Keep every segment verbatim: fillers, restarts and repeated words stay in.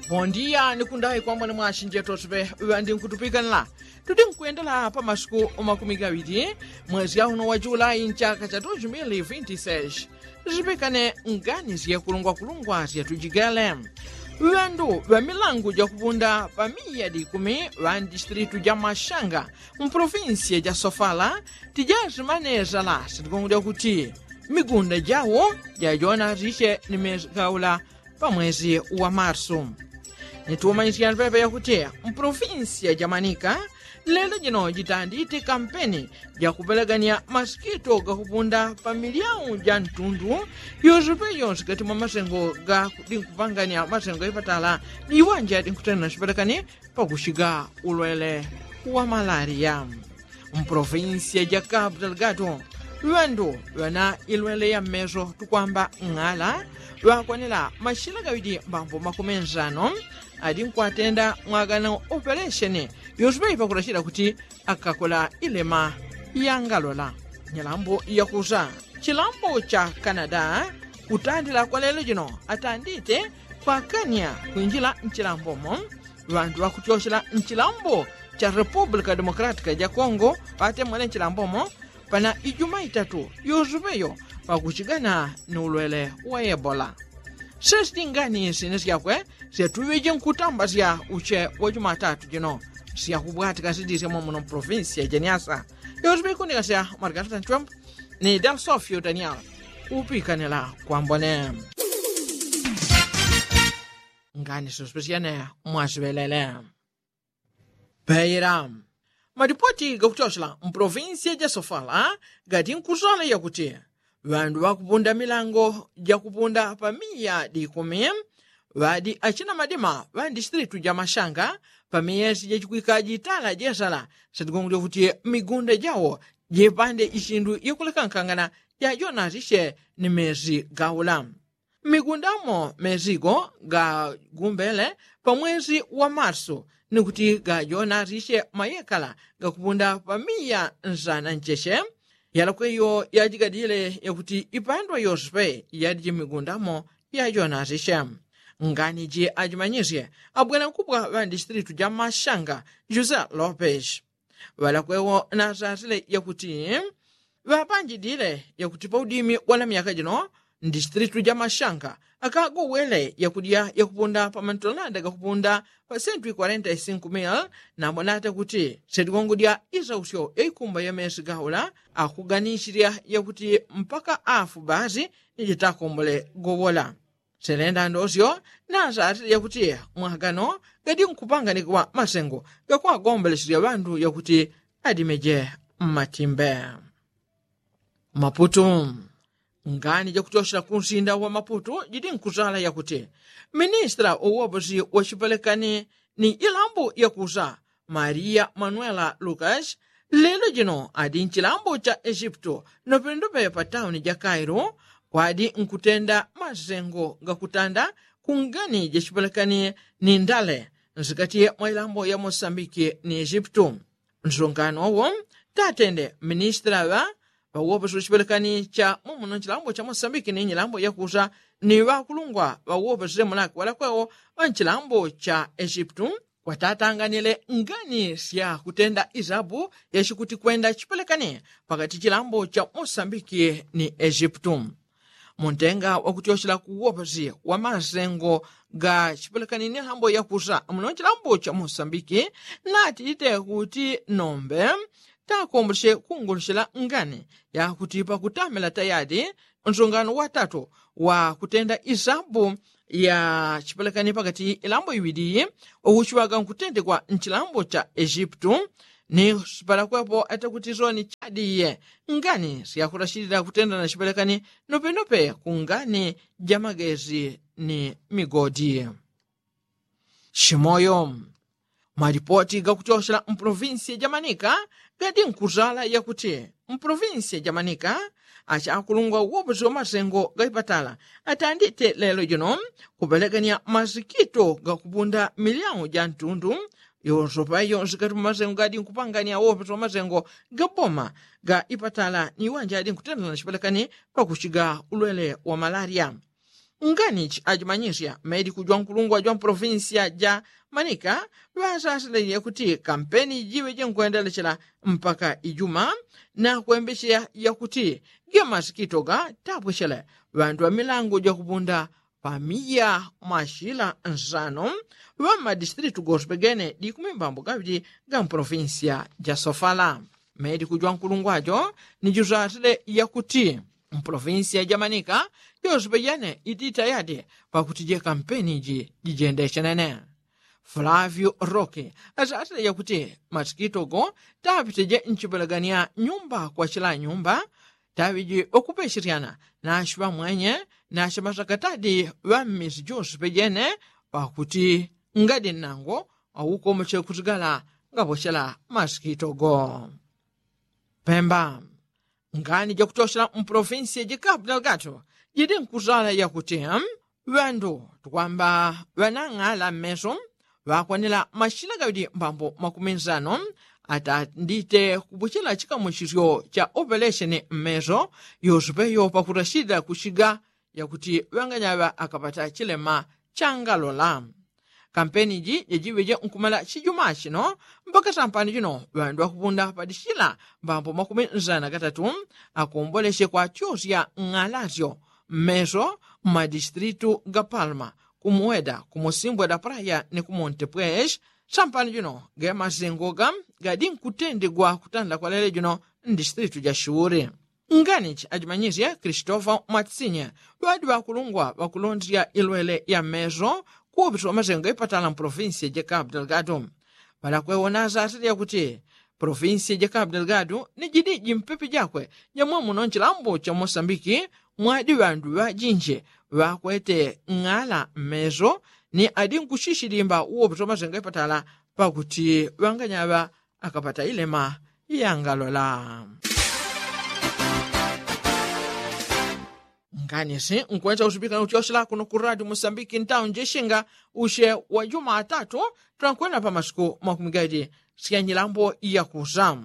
Bondiya ni kundayi kwambone mwasinjeto sipe ŵandi nkutupikanila. Tudi nkwendela pa masiku makumi gaŵili mwezi yauno wa julai nchaka cha dos mil vinti seis. Sipekane ngani syekulungwakulungwa syatujigele. Ŵandu ŵa milangu jakupunda pa miya dikumi ŵa ndisitilitu ja mashanga mpolofinsiya ja sofala tijasimanesa lasi ligongo lyakuti migunda jawo jajona sisye ni mesi gaula pa mwezi wa marsu. Nitumanyisyani pepe yakuti mpolofinsiya ja manika lelo jino jitandite kampeni jakupelekanya masikito gakupunda pa milyau ja ntundu yonsepe yonse kati mwa masengo ga dinkupanganya masengo gaipatala ni iwanja dinkutenda sipelekani pakusiga ulwele wa malariya. Mpolofinsiya ja kapu delgado ŵandu ŵana ilwele ya mmeso tukwamba ng'ala ŵakwanila mashila gaŵidi mbambo makumi nsano adinkwatenda mwagana opelesheni yonsepe ipakulashila kuti akakola ilema yangalola. Nyalambo yakusa chilambo cha kanada kutandila kwa lelo jino atandite kwakanya kwinjila nchilambomo ŵantu ŵakutyoshela nchilambo cha republika demokratika ja kongo ŵatemwele nchilambomo pana ijuma itatu yusupeyo pakuchigana ni ulwele wa ebola. Sesiti ngani sine syakwe syatuŵeje nkutamba sya uche wa jumatatu jino syakubwatika sidisya mwamuno mpolofinsi ya jeniasa. Yusupe ikundika sya margarita nchwembo ni delsofio daniel kupikanila kwambone. Ngani sospesyane mwasiŵelele. Peila malipoti gakutyosela mpolofinsiya ja sofala gati nkusala yakuti ŵandu ŵakupunda milango jakupunda pa miya dikumi ŵadi achina madima ŵa ndisitilitu ja mashanga pa miyesi jachikwikaji itala jesala satigongo lyakuti migunda jawo jepande isindu yakulekankangana jajonasisye ni mesi gaula. Mmigundamo mesigo gagumbele pa mwesi wa marsu ni kuti gajonasisye mayekala gakupunda pa miya nsana ncheche. Yalakweyo yajigadile yakuti ipandwa yonsepe yadiji mmigundamo yajonasisye. Ngani ji ajimanyisye abwela nkubwa ŵa ndisitilitu ja mashanga jose lopes. Ŵalakwewo nasasile yakuti ŵapanjidile yakuti paudimi wa namyaka jino ndisitilitu ja mashanga akagowele yakudya yakupunda pa mantolanda gakupunda pa sentu ikwarenta isinkumil. Nambonata kuti seligongo dya isausyo yaikumba ya mesi gaula akuganisirya yakuti mpaka afu basi nijitakombole gowola. Selenda ndosyo nasatile yakuti mwagano gadi nkupanganikwa masengo gakwagombeleselya ŵandu yakuti adimeje mmatimbe. Maputu. Ngani jakutyosela kunsinda wa maputu jidi nkusala yakuti ministila uwoposi wachipelekani ni ilambo yakusa maria manuela lukas lelo jino adi nchilambo cha ejipto nopendope pa tauni ja kairo kwadi nkutenda masengo gakutanda kungani jachipelekani ni ndale nsikati mwa ilambo ya mosambiki ni ejipto. Nsungano wo tatende ministila ŵa ŵawoposi wachipelekani cha mumuno nchilambo cha mosambiki ni nyilambo yakusa ni ŵakulungwa ŵawoposi lemulaki ŵalakwewo ŵa nchilambo cha ejipto kwatatanganile ngani sya kutenda isabu yachikuti kwenda chipelekani pakati chilambo cha mosambiki ni ejipto. Muntenga wakutyochela kuwoposi wa masengo ga chipelekani ni nhambo yakusa muno chilambo cha mosambiki natite kuti nombe takomboleche kungolochela ngani yakuti pakutamela tayadi nsungano watatu wa kutenda isabu ya chipelekani pakati ilambo iŵili uchiŵaga nkutendekwa nchilambo cha ejipto. Ni sipalakwepo atakutizoni chadiye ngani syakulachilila kutenda na chipelekani nopenope kungani ja magezi ni migodi. Chimoyo. Malipoti gakuchochela mpolovinsiya ja manika gadi nkuzala yakuti mpolovinsiya ja manika achakulungwa uwoposi wa masengo gaipatala atandite lelo jino kupelekanya masikito gakupunda milyamu ja ntundu yonsopa yonse kati mwa masengo gadi nkupanganya uwoposi wa masengo ga boma ga ipatala ni iwanja adi nkutendana chipelekani pakuchiga ulwele wa malaria. Nganichi achimanyisya mediku jwankulungwa jwa mpolofinsiya ja manika, ŵasasile yakuti kampeni jiŵe jinkwendelesyela mpaka ijuma na kwembesyeya yakuti gemasikito ga tapwechele ŵandu ŵa milango jakupunda pamiya mwashila nsano ŵa mmadisitilitu gosipejene dikumi mbambo gaŵili ga mpolofinsiya ja sofala. Mediku jwankulungwa jo ni jusasile yakuti mpolofinsiya ja manika joswe pejane iti tayadi pakuti je kampeni ji jijendesye nene. Flavio roki asasile yakuti masikito go tapite je nchipelagania nyumba kwa chila nyumba taŵiji okupesheryana nashi ŵamwenye nashi masakatadi ŵa mmisi joswe pejene pakuti ngadi nnango aukomoche kusigala ngapochela masikito go. Pemba. Ngani jakutyochela mpolofinsiya jikapu dalgatu jidi nkusala yakuti ŵandu tukwamba ŵanang'ala mmeso ŵakwanila mashila gaŵidi mbambo makumi nsano atandite kupuchela chikamuchisyo cha opelesheni mmeso yosupeyo pakurashida kushiga yakuti ŵanganyaŵa akapata chilema changalola. Kampeni ji jajiŵeje nkumala chijuma chino mpaka sampani jino ŵandu ŵakupunda padishila mbambo makumi nsana gatatu akombolesye kwachosya ng'alasyo mmeso mmadisitilitu ga palma, kumuweda, kumusimbwe da praya ni kumonte pweshi. Sampani jino gemasengo ga gadi nkutendegwa kutanda kwa lele jino mdisitilitu ja shuri. Nganichi ajimanyisye kristofa mwatsinye ŵadi ŵakulungwa ŵakulondesya ilwele ya mmeso kuwopeso ŵamasengo ipatala mpolofinsiya ja kapu dalgatu. Ŵalakwewona asasile yakuti polofinsiya ja kapu dalgatu ni jidi jimpepe jakwe jamwamuno nchilambo cha mosambiki mwadi ŵandu ŵajinji ŵakwete ng'ala mmeso ni adi nkushishilimba uwopeso ŵamasengo ipatala pakuti ŵanganyaŵa akapata ilema yangalola. Nganisi nkwenda usipika nutyoshela kuno ku radio musambiki ntawo njeshinga ushe wa juma atatu twankwenda pa masiku makumi gaidi sya nyilambo yakusa.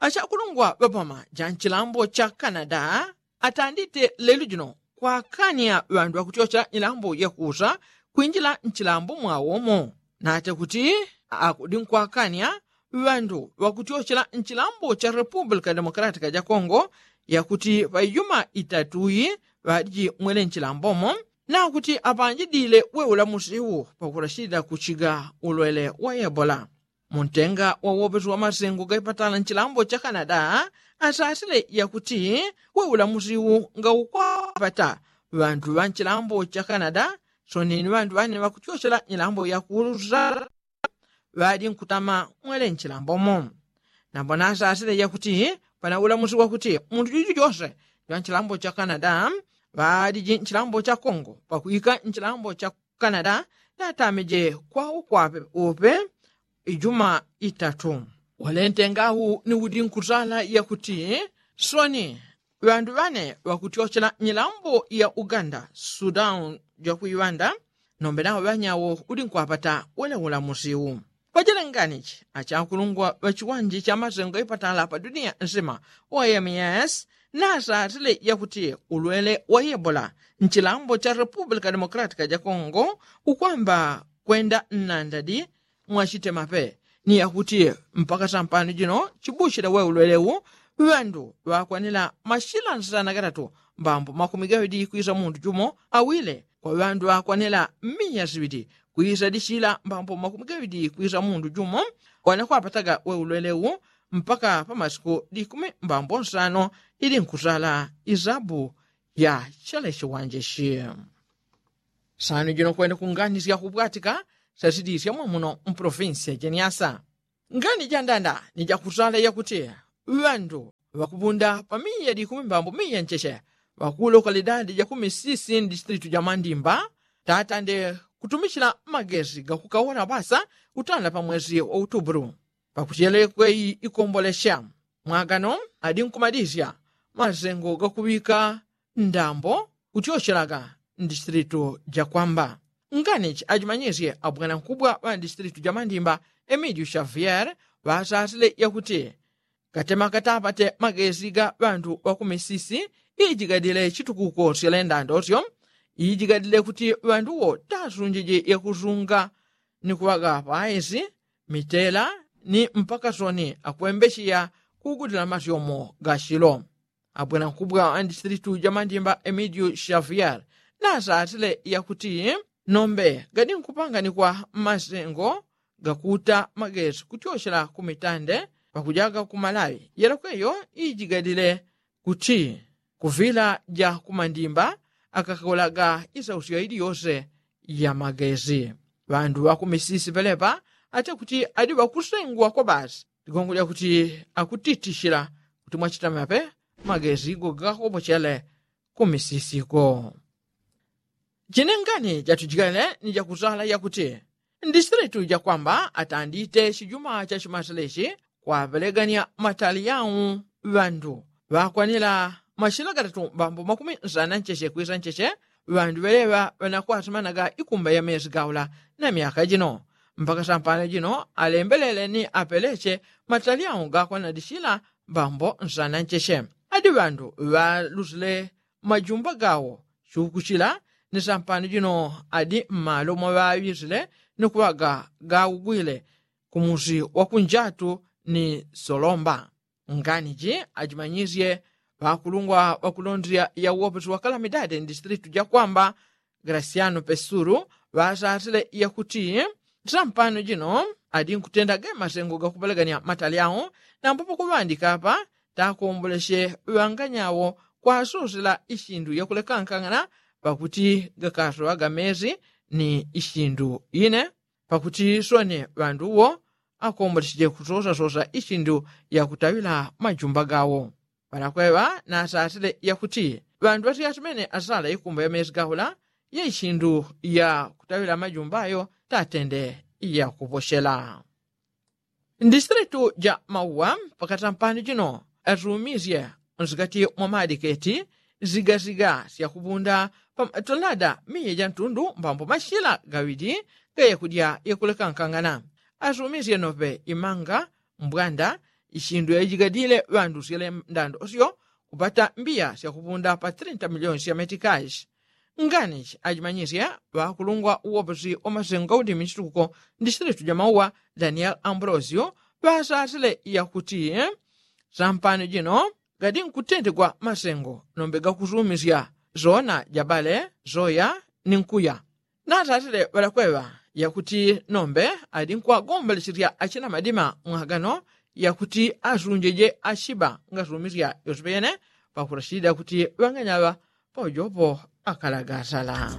Achakulungwa ŵapama ja nchilambo cha kanada atandite lelu jino kwakania ŵandu ŵakutyochela nyilambo yakusa kwinjila nchilambo mwawomo nate kuti akudi nkwakania ŵandu ŵakutyochela nchilambo cha republika demokalatika ja kongo yakuti ŵaijuma itatuyi ŵadiji mwele nchilambomo nakuti apanjidile we ulamusiwu pakulashilila kuchiga ulwele wa ebola. Muntenga wa wopesi wa masengo gaipatala nchilambo cha kanada asasile yakuti we ulamusiwu ngaukwapata ŵandu ŵa nchilambo cha kanada soneni ŵandu ŵane ŵakutyochela nyilambo yakusa ŵadi nkutama mwele nchilambomo. Nambo nasasile yakuti pana ulamusi wakuti mundu juju jose jwa nchilambo cha kanada ŵadiji nchilambo cha kongo pakwika nchilambo cha kanada natamije kwa ukwape upe ijuma itatu. Walentengawu ni udi nkusala yakuti soni ŵandu ŵane ŵakutyochela nyilambo ya uganda sudan jakuiŵanda nombe nawo ŵanyawo udi nkwapata wele ulamusiwu. Pajelenganichi achakulungwa ŵachiwanje cha masengo ipatala pa dunia nsima wa ms nasasile yakuti ulwele wa ebola nchilambo cha republika demokalatika ja kongo ukwamba kwenda nnandadi mwachitemape ni yakuti mpaka sampano jino chibushila we ulwelewu ŵandu ŵakwanila mashila nsana gatatu mbambo makumi gaŵidi kwisa mundu jumo awile kwa ŵandu ŵakwanila miya siŵidi kwisa dishila mbambo makumi gaŵidi kwisa mundu jumo wanakwapataga we ulwelewu mpaka pa masiku dikumi mbambo nsano ili nkusala isabu ya chale chiwanje shi. Sanu jino kwenda kunganisya kubwatika sasidisya mwamuno mpolofinsiya jeniasa. Ngani jandanda ni jakusala yakuti ŵandu ŵakupunda pa miya dikumi mbambo miya ncheche ŵakulo kalidadi jakumisisi ndisitilitu jamandimba tatande kutumichila magesi gakukawola basa kutanda pa mwesi wa utubulu pakutyelekwe ikombolesya mwagano adi nkumadisya masengo gakuŵika ndambo kutyochelaga ndisitilitu jakwamba. Nganichi ajimanyisye abwanankubwa ŵa ndisitilitu jamandimba emilio xavier ŵasasile yakuti katema katapate magesi ga ŵandu ŵakumisisi ijigadile chitukuko syalendandosyo ijigadile kuti ŵandu wo tasunjije yakusunga ni kuŵaga paesi mitela ni mpaka soni akwembecheya kugudila masyomo gachilo. Abwena nkubwa andisilitu jamandimba emidio shavier nasatile yakuti nombe gadi nkupanganikwa masengo gakuta magesi kuchochela kumitande pakujaga kumalawi yelokweyo ijigadile kuti kuvila ja kumandimba akakolaga isausyo iliyose ya magesi. Ŵandu ŵakumisisi pelepa ate kuti adi ŵakusengwa kwa basi ligongo lyakuti akutitishila kuti mwachitamape magesi go gakopochele kumisisiko. Jinengani jatujikele ni jakusala yakuti ndisilitu jakwamba atandite chijuma cha chimaselechi kwapelegania matali yau ŵandu ŵakwanila mashila gatatu mbambo makumi nsana ncheche kwisa ncheche ŵandu ŵeleŵa ŵanakwasimanaga ikumba ya mesi gaula na myaka jino mpaka sampano jino alembelele ni apeleche matali yau gakwanila dishila mbambo nsana ncheche adi ŵandu ŵalusile majumba gawo chukuchila ni sampano jino adi mmalo mwaŵaŵisile ni kuŵaga gaugwile kumusi wakunjatu ni solomba. Ngani ji ajimanyisye ŵakulungwa ŵakulondela ya uwopesi wa kalamidade ndisilitu jakwamba grasyano pesulu ŵasasile yakuti sampano jino adi nkutenda ge masengo gakupelegania matali awo nambo pakuŵandika apa takomboleche ŵanganyawo kwasusila ishindu yakulekankangana pakuti gakasoŵaga mesi ni ishindu ine pakuti soni ŵandu wo akombolecheje kusosasosa ishindu yakutaŵila majumba gawo. Ŵalakweŵa nasasile yakuti ŵandu ŵasiyasimene asala ikumba ya mesi gaula ya ishindu yakutaŵila majumba ayo tatende yakupochela. Ndisilitu ja mauwa pakatampani jino asumisye nsikati mwa madiketi zigasiga syakupunda pamatolada miya ja ntundu mbambo mashila gaŵili gayakudya yakulekankangana asumisye nope imanga mbwanda ishindu yaijigadile ŵandu syele ndando syo kupata mbiya syakupunda pa trinta miliyoni sya metikashi. Nganishi ajimanyisye ŵakulungwa uwoposi wa masengo gaudimi chitukuko ndisilitu ja mauwa daniel ambrosio ŵasasile yakuti sampano jino gadi nkutentegwa masengo nombe gakusumisya zona jabale zoya ni nkuya. Nasasile ŵalakweŵa yakuti nombe adi nkwagombolecherya achina madima mwagano yakuti asunjeje achiba ngasumisya yosepe yene pakurashida kuti ŵanganyaŵa paujopo akalagasala.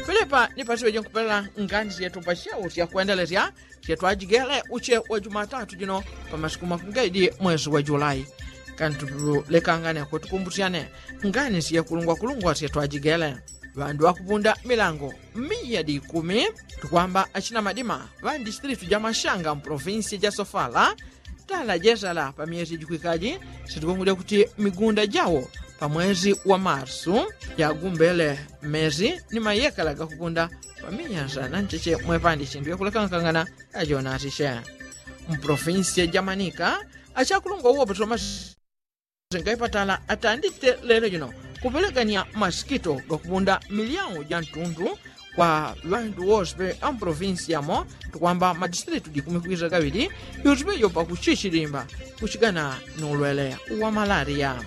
Pelepa ni pasiŵeje nkupelela ngani syetu pashewo syakwendelesya syetwajigele uche wa jumatatu jino pa masiku makungaidi mwesi wa julai. Kantulekangane kwetukumbusyane ngani syekulungwakulungwa syetwajigele ŵandu ŵakupunda milango miya di ikumi tukwamba achina madima ŵa ndisitilitu ja mashanga mpolofinsi ja sofala tala jesala pa myesi jikwikaji sitikungulya kuti migunda jawo pa mwesi wa marsu yagumbele mmesi ni mayekala gakukunda pa miya nsana ncheche mwepandi chindu yakulekangakangana yajonasishe. Mpolofinsi ja manika achakulungwa uwo pasoma senga ipatala atandite lelo jino kupelegania masikito gakupunda milyau ja ntundu kwa ŵandu wose pe ampolofinsi yamo tukwamba madisitilitu jikumi kwisa gaŵili yose pe yopa kuchichilimba kuchigana nulwele wa malaria.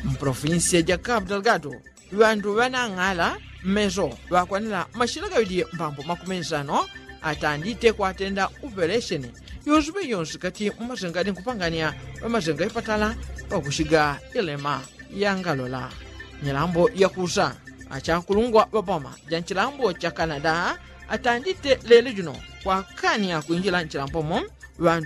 Mpolofinsi ja kapu dalgado ŵandu ŵanang'ala mmeso ŵakwanila mashila gaŵili mbambo makumi nsano atandite kwatenda upelesheni yose pe yonse kati mwa masenga adi nkupangania ŵamasenga ipatala pakushiga ilema yangalola. Nyilambo yakusa achakulungwa ŵapoma ja nchilambo cha kanada atandite lelo jino kwakania kwinjila nchilambomo ŵandu